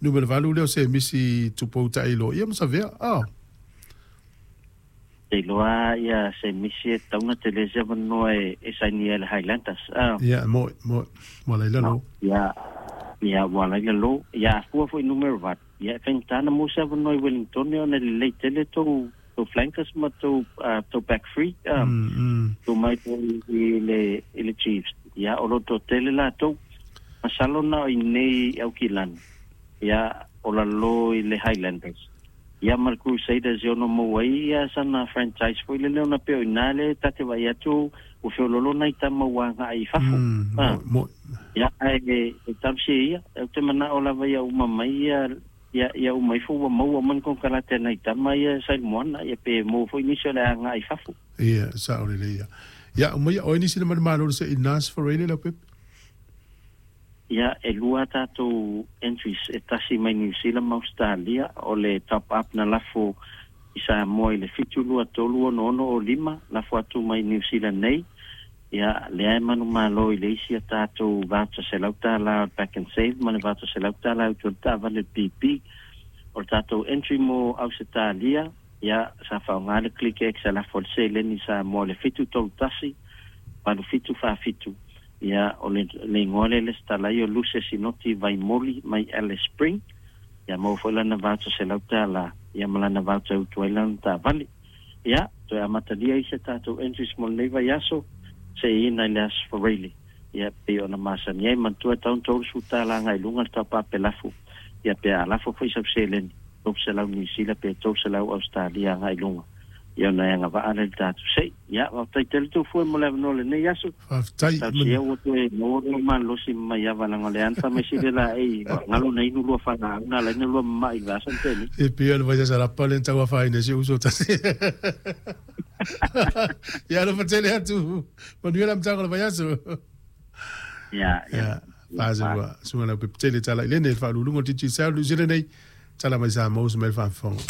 Numera 8 lea o Semisi Tupou Ta'iloa ia ma Savea a. Te iloa ia Semisi e tatau ona tele se avanoa e sainia ai le Highlanders a. Ia mo'i mo'i ua laila lo. Ia ia ua laila lo. Ia a fua foi numera 8 ia e faigata ona maua se avanoa i Wellington ona e lelei tele tou tou flankers ma tou tou back three a. Tuu mai foi i le i le Chiefs ia o lo o toatele latou. Masalo na o i inei i Aukilani ia o lalo i le Highlanders. Ia ma le Crusaders e ono maua ai ia sana franchise foi lele ona pei o ina lea ta te vaai atu ua feololo nai tama ua agai i fafo. Ah. Ia ae e talosia ia, ou te manao lava ia uma mai ia ia ia uma ifo ua maua uma ni konekarate a nai tama ia sa i le moana ia pe maua foi nisi o le a agai i fafo. Ia, sao lelei ia. Ia, uma ia oe nisi na manumalo se i Nas Ferreira Leaupepe. Ia, e lua a tatou entries, e tasi mai Niu Sila ma Ausetalia, o le top up na lafo i Samoa i le 7 2 3 6 6 5, lafo atu mai Niu Sila nei. Ia, lea e manumalo i le isi a tatou voucher $100 o le Pack and Save ma le voucher $100 e utu ai le taavale le PP. O le tatou entry mo Ausetalia, ia, sa faaaoga le ClickX e lafo ai le seleni i Samoa i le 7 3 1 8 7 4 7. Ia, o le, le igoa lea lesitala ai o Luce Sinoti Vaimoli mai Alice Spring. Ia, maua foi lana voucher $100, ia ma lana voucher e utu ai lana taavale. Ia, toe amatalia ai se tatou entries mo lenei vaiaso, seiina i le Aso Faraile. Ia, pei ona masani ai, manatua e tatau ona $30 agai i luga le taupa pelafu. Ia, pe a lafo foi sau seleni, 300 Niu Sila pe 300 Ausetalia agai i luga. Ia ona e agavaa lea i le tatou sei. Ia, faafetai tele tou fue mo le avanoa o lenei aso. Faafetai. Talosia ua toe maua lou malosi ma maiava leaga o lea lava na fai mai sili laei ua galo na inu lua falaau na ala ai na lua mama'i i le vaiaso na tea nei. E pei o le vaiaso lapa lea na tau afaina ai si ou uso tasi. Ia alofa tele atu. Manuia le amataga o le vaiaso. Ia, ia. Ia, pasi ua suga lau pepe tele tala i lene le faauluuluga o le Digicel New Zealand nei. Tala mai Samoa uso mai le faafofoga.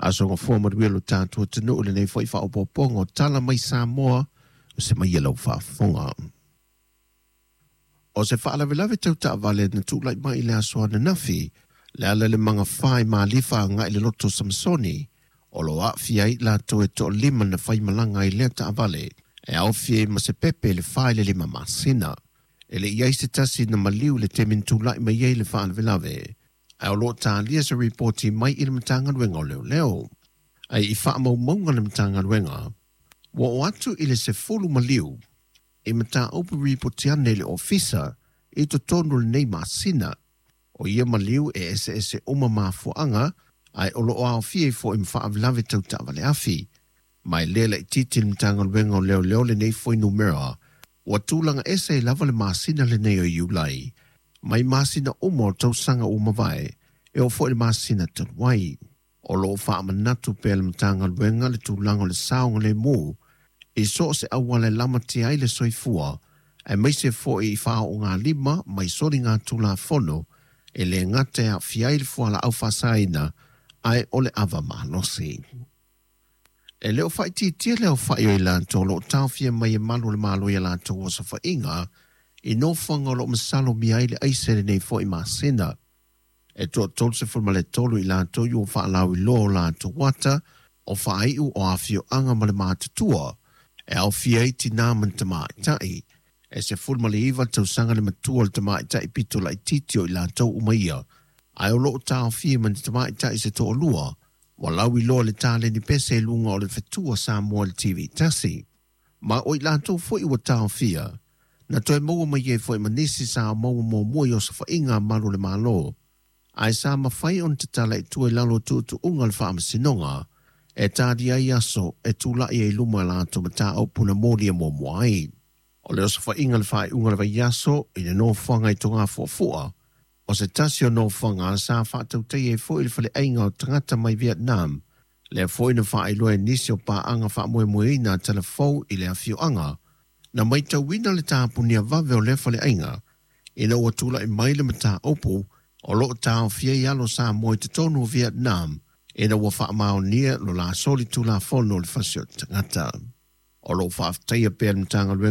Aso gafua manuia lo tatou atunuu i lenei foi faaopoopoga o Tala mai Samoa o se mai e lau faafofoga. O se faalavelave tau taavale na tulai mai i le aso ananafi, le ala i le magafa i Malifa agai i le loto o Samasoni, o lo o aafia ai i latou e toalima na faimalaga ai lea taavale, e aofia ai ma se pepe i le 4 i le 5 masina. E le i i ai se tasi na maliu i le taimi na tulai mai ai le faalavelave, ae o lo o talia se ripoti mai i le Matagaluega o Leoleo. Ae i faamaumauga a le Matagaluega, ua oo atu i le 10 maliu i mataupu ripoti ane i le Ofisa i totonu o lenei masina. O ia maliu e eseese uma mafuaaga, ae o lo o aofia ai foi ma faalavelave tau taavale afi. Ma e le laitiiti le Matagaluega o Leoleo lenei fuainumera, ua tulaga ese ai lava le masina lenei o Iulai mai masina uma o le tausaga ua mavae, e oo foi i le masina talu ai. O lo o faamanatu pea le Matagaluega le tulaga o le saogalemu i so o se auala e lamatia ai le soifua, aemaise foi i faaoogalima mai soligatulafono e le gata e aafia ai le fualaau faasaina ae o le ava malosi. E le o faaitiitia le aofai o i latou o lo o taofia mai e malu o le Malo i a latou osofaiga i nofoaga o lo o masalomia ai le aisa i lenei foi masina. E toa 33 i latou ua faalauiloa o latou ata o faaiu o afioaga ma le matutua, e aofia ai tinā ma ni tamaitai. E 19 tausaga le matua o le tamaitai pito laitiiti o i latou uma ia, ae o lo o taofia ma ni tamaitai se toalua ua lauiloa le taleni pese i luga o le fetua Samoa i le TV tasi. Ma o i latou foi ua taofia, na toe maua mai ai foi ma nisi sa maua muamua i osofaiga a malu o le Malo, ae sa mafai ona tatala i tua i lalo o tuutuuga o le Faamasinoga e talia ai aso e tulai ai i luma a latou mataupu na molia muamua ai. O le osofaiga i le faaiuga o le vaiaso i le nofoaga i Togafuafua, o se tasi o nofoaga sa faatautaia ai foi le faleaiga o tagata mai Vietnam, lea foi na faailoa e nisi o paaga faamoemoeina a Talafou i le afioaga, na maitauina le tapunia vave o lea faleaiga ina ua tulai mai le mataupu o lo o taofia ai alo Samoa i totonu o Vietnam ina ua faamaonia lo la solitulafono o le fasi o tagata. O lo o faafetaia pea le Matagaluega